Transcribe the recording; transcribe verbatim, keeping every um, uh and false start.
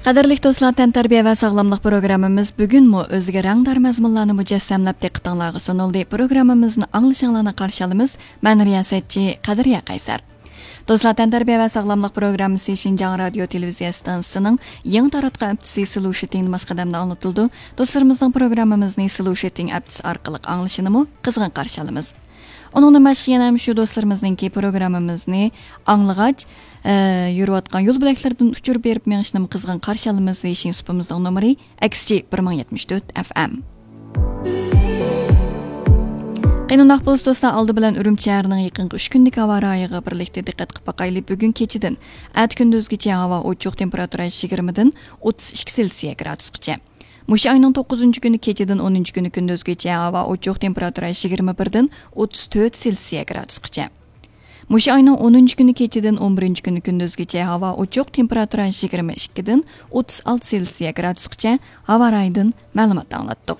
قەدىرلىك دوستلار، تەنتەربىيە ۋە ساغلاملىق پروگراممىمىز بۈگۈنمۇ ئۆزىگە رەڭدار مەزمۇنلارنى مۇجەسسەملەپ دىققىتىڭلارغا سۇنۇلدى. پروگراممىمىزنى ئاڭلىشىڭلارنى قارشى ئالىمىز. مەن رىياسەتچى قەدرىيە قەيسەر. دوستلار، تەنتەربىيە ۋە ساغلاملىق پروگراممىسى شىنجاڭ رادىيو تېلېۋىزىيە ئىستانسىسىنىڭ يېڭى تاراتقان ھەپتىسى سلوشىتىڭ ماس قەدەمدە ئاڭلىتىلىدۇ. دوستلىرىمىزنىڭ پروگراممىمىزنى سلوشىتىڭ ئەپتىسى ئارقىلىق ئاڭلىشىنىمۇ قىزغىن قارشى ئالىمىز. ئۇنىڭدىن باشقا يەنە شۇ دوستلىرىمىزنىڭكى پروگراممىمىزنى ئاڭلىغاچ، ئە، يۈرۈۋاتقان يول بۆلەكلىرىدىن ئۇچۇر بېرىپ مېڭىشنىمۇ قىزغىن قارشى ئالىمىز. ۋېيشىن سۇپىمىزنىڭ نومۇرى ئەكس جى بىر مىڭ يەتمىش تۆت ئەف ئەم. قېنى ئۇنداق بولسا دوستلار، ئالدى بىلەن ئۈرۈمچى شەھىرىنىڭ يېقىنقى ئۈچ كۈنلۈك ھاۋا رايىغا بىرلىكتە دىققەت قىلىپ باقايلى. بۈگۈن كېچىدىن ئەتە كۈندۈزگىچە ھاۋا ئوچۇق، تېمپېراتۇرا يىگىرمىدىن ئوتتۇز ئىككى سېلسىيە گرادۇسقىچە. مۇشۇ ئاينىڭ توققۇزىنچى كۈنى كېچىدىن ئونىنچى كۈنى كۈندۈزگىچە ھاۋا ئوچۇق، تېمپېراتۇرا يىگىرمە بىردىن ئوتتۇز تۆت سېلسىيە گرادۇسقىچە. مۇشۇ ئاينىڭ ئونىنچى كۈنى كېچىدىن ئون بىرىنچى كۈنى كۈندۈزگىچە ھاۋا ئوچۇق، تېمپېراتۇرا يىگىرمە ئىككىدىن ئوتتۇز ئالتە سېلسىيە گرادۇسقىچە ھاۋا رايىدىن مەلۇمات ئاڭلاتتۇق.